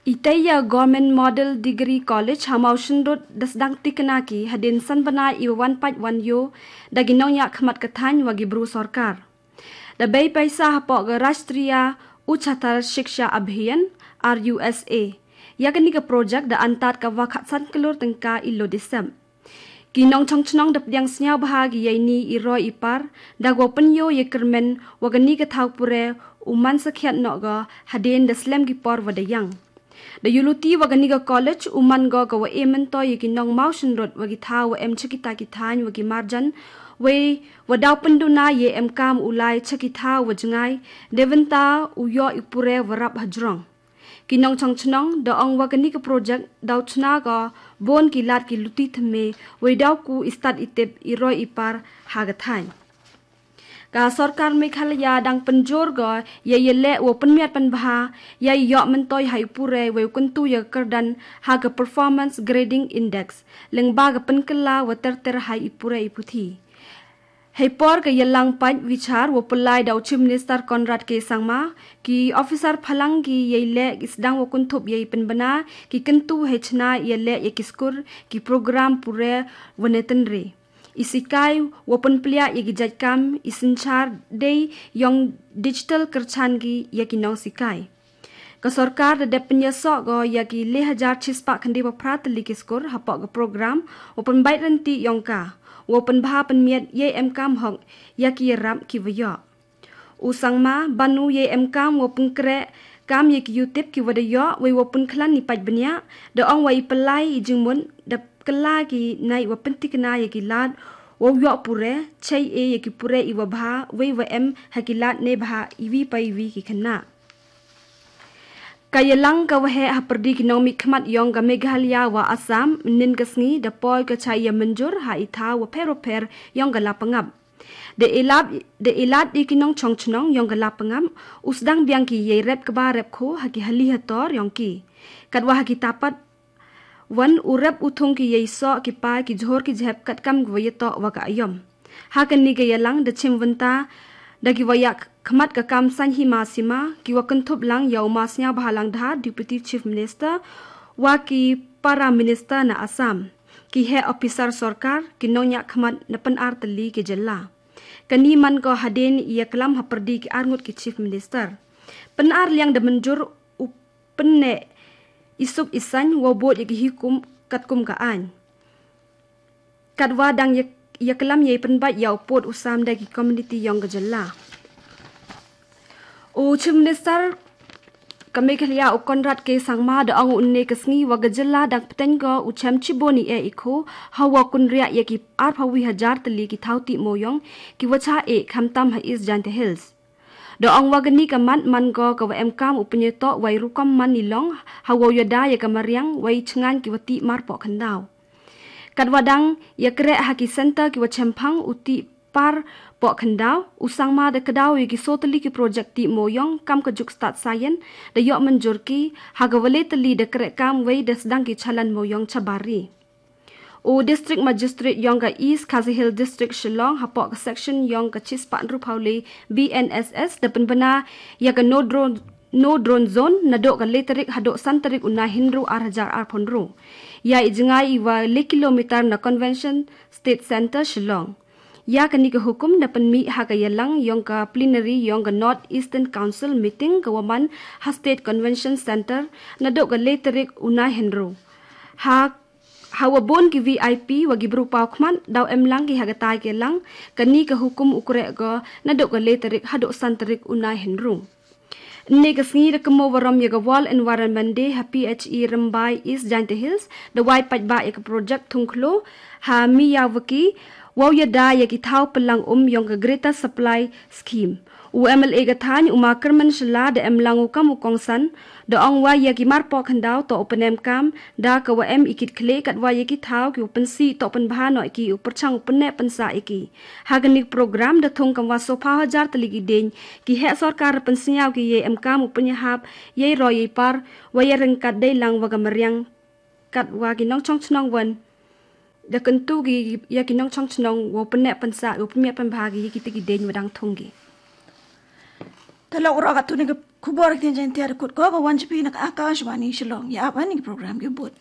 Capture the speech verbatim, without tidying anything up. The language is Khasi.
Itei ya Government Model Degree College ha Mawshynrut da sdang tikna ki hadien san bnai iwa wan pait wan ïoh da ki nongñiah khmat ka thaiñ wa ki bru sorkar. Da bei paisa hapoh ka Rashtriya Uchatar Shiksha Abhiyan, R U S A. Ya kani ka project da antad ka wa khatsan klur tyngka i lo disem. Ki nongchong chnong da pdiang sniaw bha ki yei ni i roi i par, da wa pynïoh ye kyrmen wa kani ka thaw pure u man sakhiat noh ga hadien da slem ki por wa da yang. Da ïuluti wa kani ka college u man go ka wa e myntoi ya ki nong Mawshynrut wa ki thaw wa em cha kita ki thaiñ wa ki marjan, wei wa daw pynduna ye em kam u lai cha ki thaw wa jngai, da bynta u ïoh i pure wa rap hajrong. Ki nongchong chnong da ong wa kani ka project daw chna ka bun ki lad ki luti thymme, wei daw ku i stad i tip i roi i par ha ka thaiñ. Ka sorkar Meghalaya dang pynjur go ya ya leh wa pynmiat pynbha ya ïoh myntoi ha i pure wei u kyntu ya kyrdan ha ka Performance Grading Index, lyngba ka pynkylla wa ter ter ha i pure i puthi. Hei por ka yalang pait wichar wa pynlai da u Chief Minister Conrad K Sangma, ki officer phalang ki yei leh ki sdang wa kynthup yei pynbna ki kyntu hei chna ya leh ya ki skur, ki program pure wa ne tynre. I sikai wa pynpliah ya ki jait kam, i synchar dei yong digital kyrchan ki ya ki nong sikai. Ka sorkar da dep pynïasoh go ya ki le hajar chispah khyndai wa phra tylli ki skur hapoh ka program wa pynbait rynti yong ka wa pynbha pynmiat yei em kam hok ya ki yarap ki wa ïoh. U Sangma banu yei em kam wa pynkhreh kam ya ki yutip ki wa da ïoh wei wa pynkhlan i pait bniah, da ong wa i pynlai i jingmut da kylla ki nai wa pyntikna ya ki lad wa ïoh pure, chai e ya ki pure i wa bha wei wa em ha ki lad ne bha iwi pa iwi ki khynnah. Ka yalang ka wa heh ha pyrdi ki nongmihkhmat yong ka Meghalaya wa Assam, nin ka sngi da poi ka chai ya mynjur ha i thaw wa pher wa pher yong ka la pangap. Da ilad, da ilad di ki nongchong chnong yong ka la pangap, u sdang biang ki yei rep kba rep kho ha ki hali hator yong ki. Katwa ha ki tapat wan u rep u thung ki yei soh ki pa ki jhur ki jhep katkam ki wa yatoh wa ka ayom. Ha kani ka yalang da chim wynta da ki wa yak khmat ka kam saiñ hima sima, ki wa kynthup lang ya u Ma Sniawbhalang Dhar, Deputy Chief Minister, wa ki para minister na Assam, ki heh officer sorkar, ki nongñiah khmat na pyn-ar tylli ki jylla. Kani man ko hadien i yaklam ha pyrdi ki arngut ki Chief Minister. Pyn-ar liang da mynjur u pynneh i suk i saiñ wa bud ya ki hukum katkum ka aiñ. Katwa dang yak-, yaklam yei pynbait ya u pud u sam da ki community yong ka jylla. U Chief Minister ka Meghalaya u Conrad K Sangma da ong u ne ka sngi wa ka jylla dang pteng ko u chem chibun i e i kho, ha wa kynriah ya ki arphaw wi hajar tylli ki thaw tih moyong, ki wa cha e khamtam ha East Jaintia Hills. Da ong wa kani ka mat man ko ka wa em kam u pynïatoh wa i rukom man i long, ha wa u yada ya ka mariang, wa i chngaiñ ki wa tih mar poh khyndaw. Katwa dang ya kreh ha ki center ki wa chemphang u tih par poh khyndaw, u Sangma da kdaw ya ki so tylli ki project tih moyong, kam ka juk stad sayen, da ïoh mynjur ki, ha ka wa le tylli da kreh kam wei da sdang ki chalan moyong chabar ri. U District Magistrate yong ka East Khasi Hills District Shillong hapoh ka section yong ka chispah hynriewphaw le B N S S da pynbna ya ka no drone, no drone zone naduh ka le tarik haduh san tarik u Naihynru ar hajar arphaw hynru. Ya i jngai i wa le kilometer na Convention State Center Shillong. Ya kani ka hukum da pynmih ha ka yalang yong ka plenary yong ka North Eastern Council meeting ka wa man ha State Convention Center naduh ka le tarik u Naihynru. Ha Ha wa bun ki V I P wa ki bru paw khmat daw em lang ki ha ka tai ka lang, kani ka hukum u kreh ko naduh ka le tarik haduh san tarik u Naihynru. Ne ka sngi da kynmaw warom ya ka World Environment Day ha P H E Rymbai East Jaintia Hills, da wai paidbah ya ka project thung khlo ha Miyawaki, wa u yada ya ki thaw pynlang um yong ka Greater Supply Scheme. U M L A ka thaiñ u Ma Kyrmen Shylla da em lang u kam u kongsan, da ong wa ya ki mar poh khyndaw toh u pynem kam da ka wa em i kit khleh, katwa ya ki thaw ki u pynsih toh pynbha noh ki, u pyrchang u pynneh pynsah ya ki. Ha kani ka program da thung kam wa sophaw hajar tylli ki dieñ, ki heh sorkar pynsñiaw ki yei em kam u pynïahap yei roi yei par, wa ya ryngkat dei lang wa ka mariang, katwa ki nongchong chnong wan da kyntu ki ya ki nongchong chnong wa u pynneh pynsah, u pynmiat pynbha ki ya ki te ki dieñ wa dang thung ki. Te la u rok katto ne ka khubor ki tien Jaiñtia da kut ko ka wan sha phi na ka Akashvani Shillong. Ïa ap ïa kine ki program ki bud.